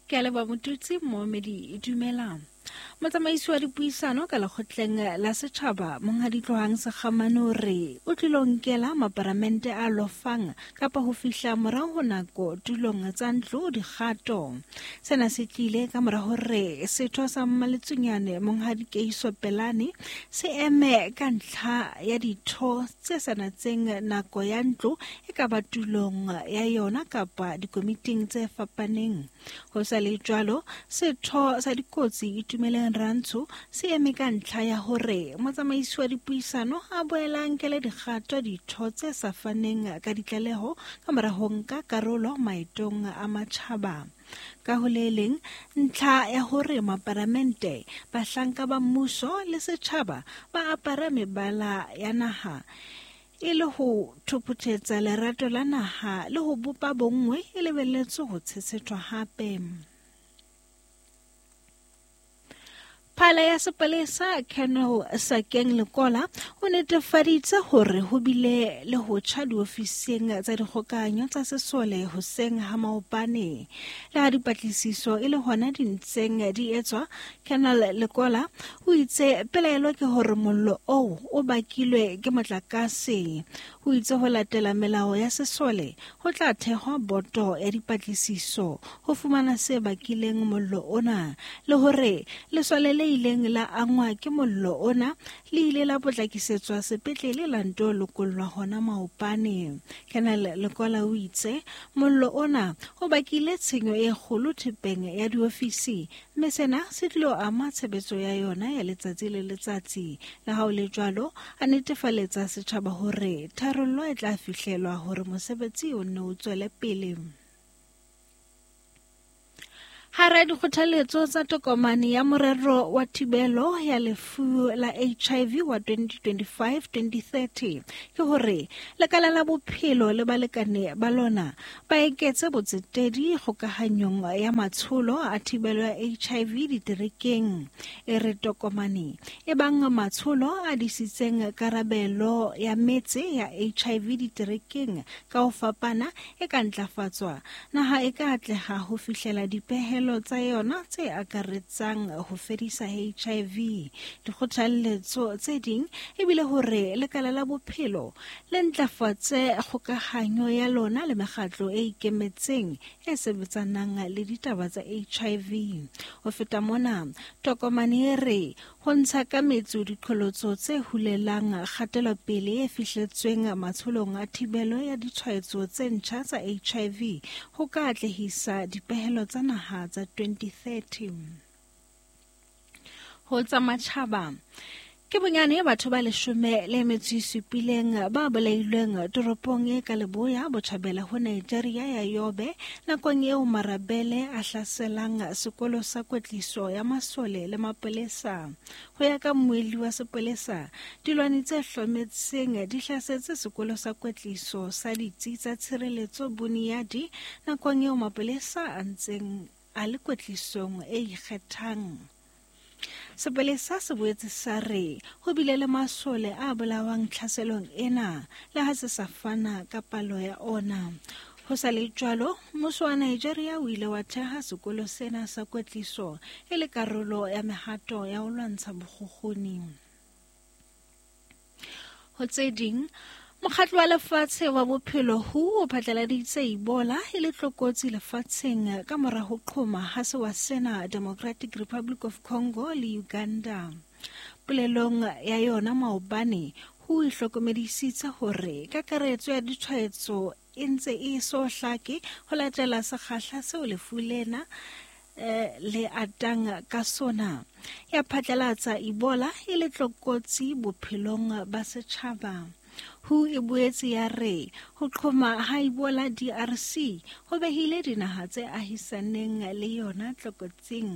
Ke a leboha Motutsi Moomedi dumelang. Motsamaisi wa dipuisano ka lekgotleng la setjhaba Monghadi Tlohang Sekgamane o re o tlilo nkela maparamente a lofang kapa ho fihla morao ho nako tulong tsa ntlo dikgato. Sena se tlile ka mora hore setho sa Mmaletsunyane Monghadi Keiso Pelane se eme ka ntlha ya ditho tse sa natseng nako ya ntlo e ka ba tulong ya yona kapa dikomiting tse fapaneng. Ho sa le jwalo, setho sa dikotsi Itumeleng Rantsho se eme ka ntlha ya hore motsamaisi wa dipuisano a boela a nkele dikgato ditho tse sa faneng ka ditlaleho ka mora ho nka karolo maetong a matjhaba. Ka ho le leng, ntlha ya hore maparamente, bahlanka ba mmuso le setjhaba ba apara mebala ya naha e le ho thopothetsa lerato la naha le ho bopa bonngwe e lebelletswe ho tshetshethwa hape. Phala ya sepolesa Colonel Sakeng Lekola o netefaditse hore ho bile le ho tjha diofising tsa dikgokahanyo tsa sesole hoseng ha maobane. Le ha dipatlisiso e le hona di ntseng di etswa, Colonel Lekola o itse pelaelo ke hore mollo oo o bakilwe ke motlakase. O itse ho latela melao ya sesole ho tla thehwa boto ya dipatlisiso ho fumana se bakileng mollo ona le hore lesole le ileng la angwa ke mollo ona le ile la potlakisetswa sepetlele la nto lokollwa hona maopane. Colonel Lekola o itse mollo ona o bakile tshenyo e kgolo thepeng ya diofisi mme sena se tlilo ama tshebetso ya yona ya letsatsi le letsatsi. Le ha o le jwalo, a netefaletsa setjhaba hore tharollo e tla fihlelwa hore mosebetsi o nne o tswele pele. Hara dikgothaletso tsa tokomane ya morero wa thibelo ya lefu la HIV wa 2025-2030 ke hore lekala la bophelo le balekane ba lona ba eketse botsetedi kgokahanyong ya matsholo a thibelo ya HIV diterekeng. E re tokomane e bang matsholo a disitseng karabelo ya metse ya HIV diterekeng ka ho fapana e ka ntlafatswa, naha e ka atleha ho fihlela dipehelo tsa yona tse akaretsang ho fedisa HIV. Dikgothalletso tse ding ebile hore lekala la bophelo le ntlafatse kgokahanyo ya lona le mekgatlo e ikemetseng e sebetsanang le ditaba tsa HIV. Ho feta mona, tokomane e re ho ntsha ka metso diqholotso tse hulelang kgatelopele e fihletsweng matsholong a thibelo ya ditshwaetso tse ntjha tsa HIV ho ka atlehisa dipehelo tsa naha tsa 2030. Ho tsa matjhaba, ke bonyane batho ba leshome le metso e supileng ba bolailweng toropong e ka leboya botjhabela ho Nigeria ya Yobe nakong eo marabele a hlaselang sekolo sa kwetliso ya masole le mapolesa. Ho ya ka mmuelli wa sepolesa, dilwani tse hlometseng di hlasetse sekolo sa kwetliso sa ditsi tsa tshireletso Buniadi nakong eo mapolesa a ntseng a le kwetlisong e ikgethang. Sepolesa se boetse sa re ho bile le masole a bolawang tlhaselong ena le ha se sa fana ka palo ya ona. Ho sa le jwalo, mmuso wa Nigeria o ile wa theha sekolo sena sa kwetliso e le karolo ya mehato ya ho lwantsha bokgukguni. Ho tse ding, Mokgatlo wa Lefatshe wa Bophelo WHO o phatlaladitse Ebola e le tlokotsi lefatsheng ka mora ho qhoma ha sewa sena Democratic Republic of Congo le Uganda. Polelong ya yona maobane, WHO e hlokomedisitse hore kakaretso ya ditshwaetso e ntse e so hlake ho latela sekgahla seo lefu lena eh, le atang ka sona. Ya phatlalatsa Ebola e le tlokotsi bophelong ba setjhaba. WHO e boetse ya re ho qhoma ha Ebola DRC ho behile dinaha tse ahisaneng le yona tlokotsing.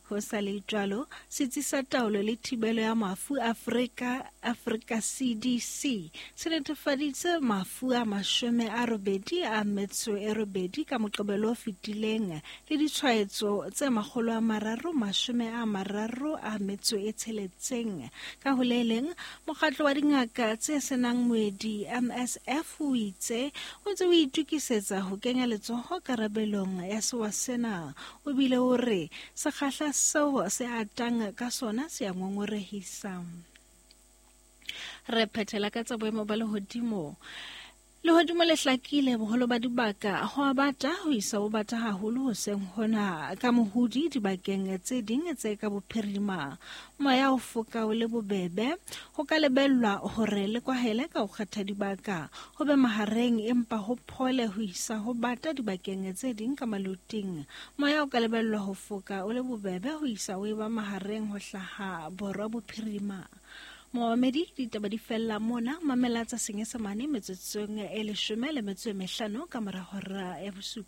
Ho sa le jwalo, Setsi sa Taolo le Thibelo ya Mafu Afrika, Afrika CDC, se netefaditse mafu a 88 ka Moqebelo o fetileng le ditshwaetso tse 336. Ka ho le leng, Mokgatlo wa Dingaka tse Senang Moedi, MSF, o itse o ntse o itokisetsa ho kenya letsoho karabelong ya sewa sena. O bile o re sekgahla seo se atang ka sona se a ngongorehisa. Re phethela ka tsa boemo ba lehodimo. Lehodimo le hlakile boholo ba dibaka, ho a bata ho isa ho bata haholo hoseng hona ka mohodi dibakeng tse ding tse ka bophirima. Moya o foka o le bobebe, ho ka lebellwa hore le kwahele ka ho kgetha dibaka, ho be mahareng empa ho phole ho isa ho bata dibakeng tse ding ka maloting. Moya o ka lebellwa ho foka o le bobebe ho isa o eba mahareng ho hlaha borwa bophirima. Momamedi, ditaba di fella mona. Mamela tsa Senyesemane metsotsong e 15 ka mora hora ya 7.